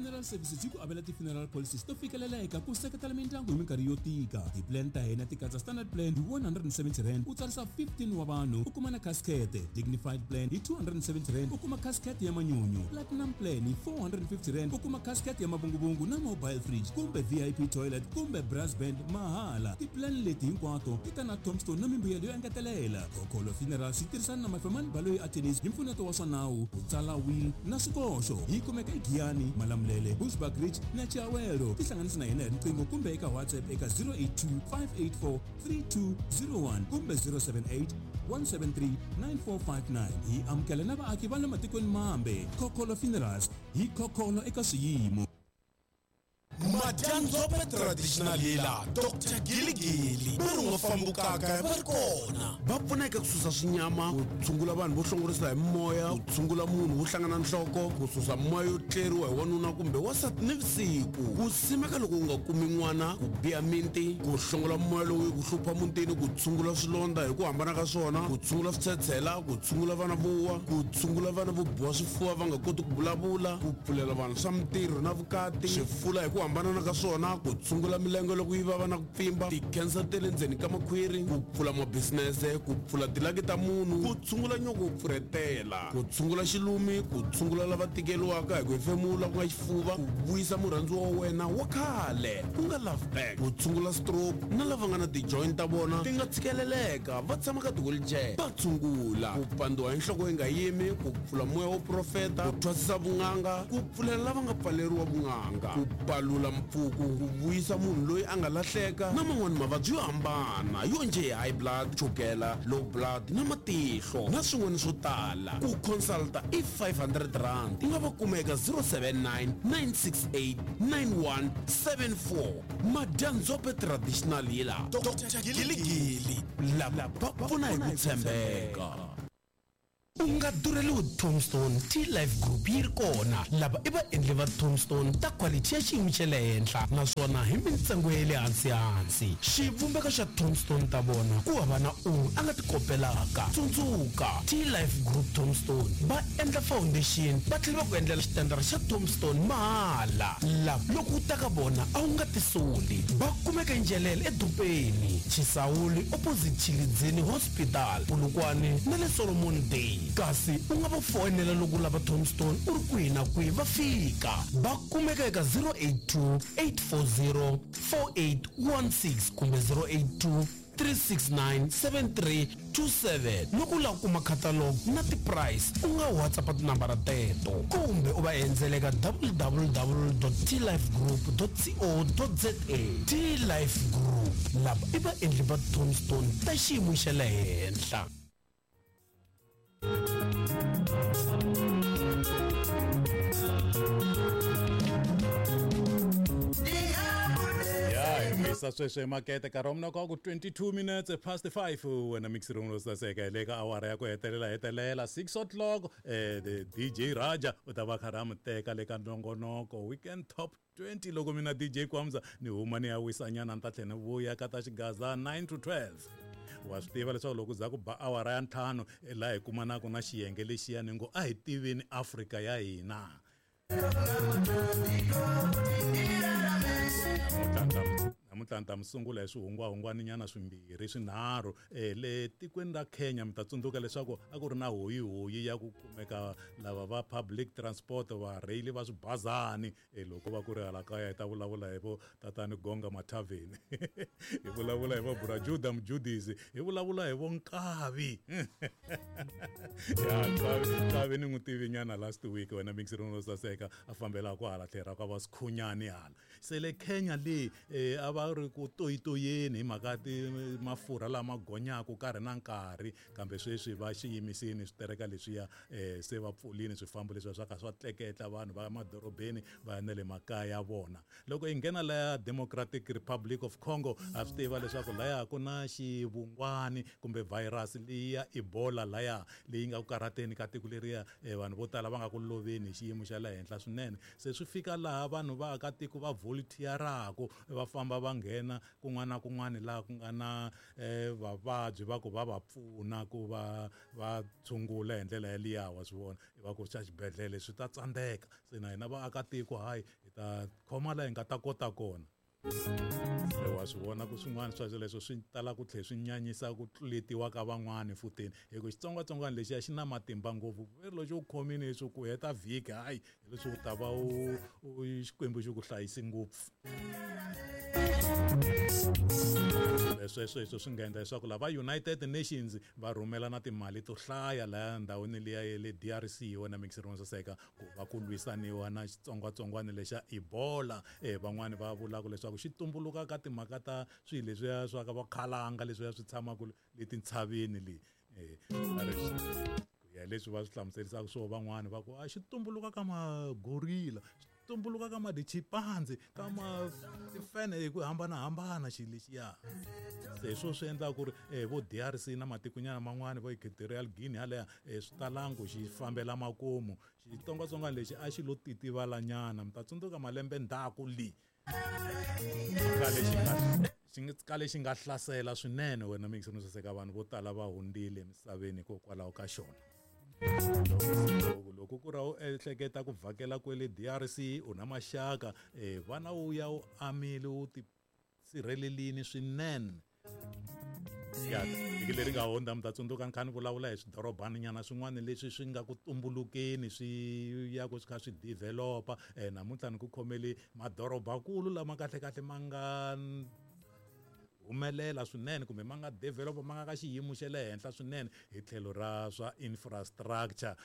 Funeral Services yi ku avela ti-funeral policies to fikeleleka ku seketela mindyangu hi minkarhi yo tika. Ti-plan ta hina ti katsa standard plan hi R170 u tsarisa 15 wa vanhu u kuma na casket, dignified plan hi R270 u kuma casket ya manyunyu, platinum plan hi R450 u kuma casket ya mavunguvungu na mobile fridge kumbe VIP toilet kumbe brass band mahala. Ti-plan leti hinkwato ti ta na tombstone na mimbuyelo yo engetelela. Khokholo Funerals yi tirhisana na Mafemani Baloyi Attorneys hi mpfuneto wa swa nawu, ku tsala will na swikoxo. Yi kumeka eGiyani, Malamulele, Bushbuckridge na Chiawelo. Tihlanganisi na hina hi riqingho kumbe eka WhatsApp eka 082 584 3201 kumbe 078 173 9459. Hi amukela na vaaki va le matikweni mambe. Khokholo Funerals, hi khokholo eka swiyimo. Madyandzhope Traditional Healer Doctor Giligili va ri nga fambukaka va ri kona va pfuna eka ku susa swinyama, ku tshungula vanhu vo hlongorisa hi moya, ku tshungula munhu wo hlangana nhloko, ku susa moya yo tleriwa hi wanuna kumbe wansati nivusiku, ku simeka loko u nga kumi n'wana, ku biha minti, ku hlongola moya lowu yi ku hlupha mutini, ku tshungula swilondza hi ku hambana ka swona, ku tshungula switshetshela, ku tshungula vana vo wa, ku tshungula vana vo biwa swifuva va nga koti ku vulavula, ku pfulela vanhu swa mintirho na vukati, swifula hi ku hambanana ka swona, ku tshungula milenge loko yi vava na ku pfimba, tikhensa ta le ndzeni ka makhwiri, ku pfula mabisinese, ku pfula tilaki ta munhu, ku tshungula nyoko wo pfurhetela, ku tshungula xilumi, ku tshungula lava tikeriwaka hi ku hefemula ku nga xifuva, ku vuyisa murhandziwa wa wena wa khale ku nga love back, ku tshungula stroke na lava nga na ti-joint ta vona ti nga tshikeleleka va tshama ka ti-wheelchair va tshungula, ku pandziwa hi nhloko yi nga yimi, ku pfula moya wo profeta, ku thwasisa vun'anga, ku pfulela lava nga pfaleriwa vun'anga, ku palula mpfuku, ku vuyisa munhu loyi a nga lahleka na man'wana mavabyi yo hambana yo njhe hi high blood, chukela, low blood na matihlo na swin'wana swo tala. Ku consulta i R500. U nga va kuma eka 079 968 9174. Madyandzhope Traditional Healer Doctor Giligili lava va pfuna hi ku tshembeka. U nga durheliwi Tombstone T-Life Group yi ri kona. Lava i vaendli va Tombstone ta khwalithi ya xiyimo xa le henhla naswona hi mintsengo ya le hansi-hansi. Xivumbeko xa Tombstone ta vona ku hava na un'we a nga ti kopelaka. Tsundzuka, T-Life Group Tombstone va endla foundation va tlhela va ku endlela xitandara xa Tombstone mahala. Lava loko u ta ka vona a wu nga tisoli. Va kumeka eNjelele edorobeni, Chisawuli opposite Tshilidzini Hospital, Polokwane na le Solomon Day. Kasi u nga va foyinela loko u lava Tombstone u ri kwihi na kwihi va fika. Va kumeka eka 082 840 4816 kumbe 082 369 7327. Loko u lava ku kuma catalog na ti-price u nga WhatsApp tinambara teto kumbe u va endzela eka www.tlifegroup.co.za. T-Life Group, lava i vaendli va Tombstone ta xiyimo xa le henhla. Ya hi vuyisa sweswo emakete nkarhi wa mina ka ku 22 minutes past 5 wena mixi ro saseka hi le ka awara ya ku hetelela hetelela 6 o'clock the DJ Raja u ta va kha a mi teka le ka nongonoko weekend top 20 loko mina DJ Kwamza ni huma ni ya wisanyana ni ta tlhela ni vuya ka ta xigaza 9 to 12 wa swi tiva leswaku loko za ku ba awara ya ntlhanu laha hi kumanaka na xiyenge lexiya ni ngo a hi tiveni Afrika ya hina. Namuntlha ni ta mi sungula hi swihungwahungwaninyana swimbirhi swinharhu. Le tikweni ra Kenya mi ta tsundzuka leswaku a ku ri na hoyihoyi ya ku kumeka lava va public transport varheyili va swibazani. Loko va ku ri hala kaya hi ta vulavula hi vo tatani Gonga Mathaveni, hi vulavula hi vo Bra Juda Mjudisi, hi vulavula hi vo Nkavi. Ya Nkavi ni n'wi tivinyana last week wena mixi ro saseka a fambela ku hala tlhelo ra ka va Sikhunyani hala. Se le Kenya le a va ri ku toyitoyeni hi mhaka ti mafurha lama gonyaka nkarhi na nkarhi, kambe sweswi va xi yimisini switereka leswiya se va pfulini swifambo leswiya swa ka swa tleketla vanhu va madorobeni va ya na le makaya ya vona. Loko hi nghena laya Democratic Republic of Congo ha swi tiva leswaku laya ku na xivungwani kumbe virus leyi ya Ebola laya leyi nga ku karhateni ka tiko leriya, vanhu vo tala va nga ku loveni hi xiyimo xa le henhla swinene. Se swi fika laha vanhu va akatiko va volunteer-aku va famba va nghena kun'wana na kun'wana laha ku nga na vavabyi va ku va va pfuna ku va va tshungula hi ndlela yaliya wa swi vona va ku xa xibedhlele swi ta tsandzeka se na hina vaakatiko hayi hi ta khoma laha hi nga ta kota kona se wa swi vona ku swin'wana swa swoleswo swi tala ku tlhela swi nyanyisa ku tluletiwa ka van'wani futini hi ku xitsongwatsongwana lexiya xi na matimba ngopfu veri lexi u khomile leswi ku heta vhiki hayi hi leswi u ta va u xikwembu xi ku hlayisi ngopfu sweswo hi swi nga endla leswaku lava United Nations va rhumela na timali to hlaya laya ndhawini liya ya le DRC wena mixer wo saseka ku va ku lwisaniwa na xitsongwatsongwana lexa Ebola van'wani va vulaka leswaku xi tumbuluka ka timhaka ta swilo leswiya swa ka vakhalanga leswiya swi tshamaka le tintshaveni le ku ya leswi va swi hlamuserisaka swo van'wani va ku a xi tumbuluka ka magorila xi tumbuluka ka madichimpanzi ka ma tifene hi ku hambanahambana xilo lexiya se hi swo swi endlaka ku ri vo D_R_C na matikonyana man'wani vo Equatorial Guinea halaya swi talangi ku xi fambela makumu xitsongwatsongwana lexi a xi lo titivala nyana mi ta tsundzuka malembe ndzhaku le khale xi nga xi nga kale xi nga hlasela swinene wena mixo no saseka vanhu vo tala va hundzile emisaveni hikokwalaho ka xona loko loko ku ri u ehleketa ku vhakela kwele D_R_C u na maxaka vana wu ya u amile u ti sirhelelini swinene ya vhiki leri nga hundza mi ta tsundzuka ni kha ni vulavula hi swidorobana nyana swin'wana leswi swi nga ku tumbulukeni swi ya ku swi kha swi developa namuntlha ni ku khomele madorobakulu lama kahlekahle ma nga humelela swinene kumbe ma nga developa ma nga ka xiyimo xa le henhla swinene hi tlhelo ra swa infrastructure.